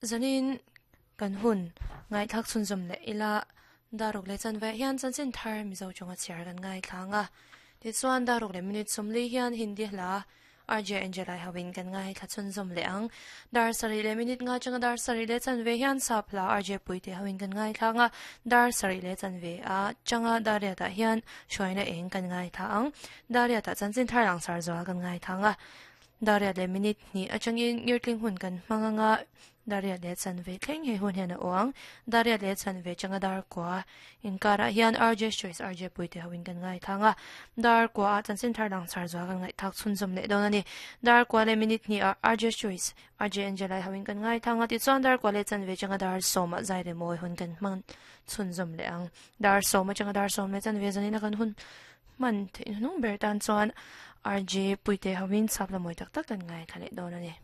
Zanin kan hun ngaihthlak chhunzawm leh ila daruk leh chanve hian chanchin thar Mizo chunga chhiar kan ngaithlang a. Tichuan daruk leh minute sawmli hian Hindi hla RJ Angelai hoin kan ngaithla chhunzawm leh ang. Dar sarih leh minute nga changa dar sarih leh chanve hian sap hla RJ Puite hoin kan ngaithlang a. Dar sarih leh chanve a changa dar riatah hian hruaina eng kan ngaithla ang. Dar riatah chanchin thar langsar zual kan ngaithlang a. Daria leh minute hnih atangin ngirtling hun kan hmang anga Daria leh chanve thleng he hun hian a awng. Daria leh chanve changa dar kua inkarah hian RJ Choice RJ Puite hoin kan ngaithlang a. Dar kua ah chanchin thar langsar zual kan ngaihthak chhunzawm leh dawn a ni. Dar kua leh minute hnih ah RJ Choice RJ Angelai hoin kan ngaithlang a. Tichuan dar kua leh chanve changa dar sawm ah zai leh mawi hun kan hmang chhunzawm leh ang. Dar sawm atanga dar sawm leh chanve zanina kan hun hman theih hnung ber tan chuan RJ Puite hoin chhap la mawi tak tak kan ngaithla leh dawn a ni.